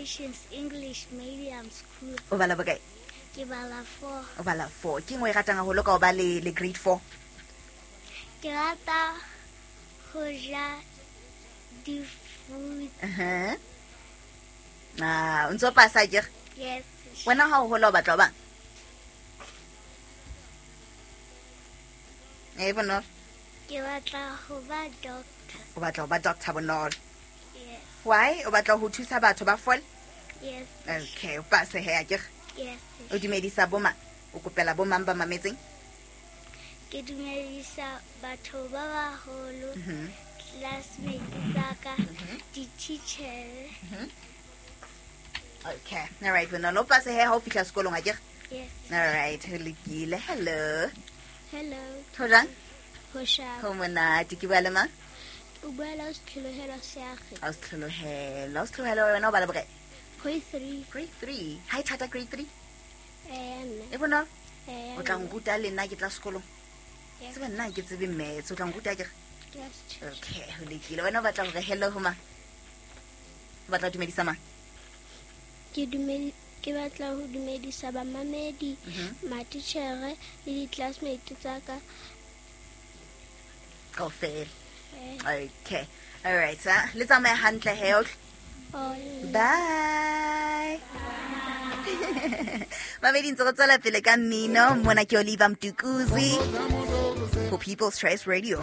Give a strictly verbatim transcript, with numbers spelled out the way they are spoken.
Nations English Medium School. O bala bokae? Ke bala four. O bala four. Ke eng o e ratang haholo ka ho ba le, le grade four? Ke rata ho ja di-fruit. Uh-huh. Ah, o ntso pasa akere? Yes. Wena ha o hola o batla ho bang? Eh, Bonolo? Ke batla ho ba doctor. O batla ho ba doctor, Bonolo? Yes. Why? O batla ho thusa batho ba fole? Yes. Okay, o pase he akere? Yes. O dumedisa bo mang? O kopela bo mang ba mametseng? Ke dumedisa batho ba baholo, Mhm. classmates tsa ka, di-teacher. Mhm. Okay. All right, Bonolo, o pase he ha o fihla sekolong akere? Yes. All right, ho lokile. Hello. Hello. Ho jwang? Ho sharp. Ho monate. Ke bua le mang? O bua le Ausi Tlholohelo Seage. Ausi Tlholohelo. Ausi Tlholohelo, wena o bala bokae? Grade three. Grade three. Ha e thata grade three? Eh, nna. E bonolo? Eh, O tla nruta le nna ke tla sekolong? Yes. Tseba nna ha ke tsebe maths, o tla nruta akere? Yes. Okay, ho lokile. Wena o batla hore hello ho mang? O batla ho dumedisa mang? Ke dumedi-, ke batla ho dumedisa bamamedi, Mhm. matitjhere le di-classmate tsa ka. Kaofela. Eh. Okay. All right, ha. Le tsamaye hantle he, okay? Oh, Bye. Mamedi, ntse re tswela pele ka mmino. Mona ke Oliver Mtukudzi for People's Choice Radio.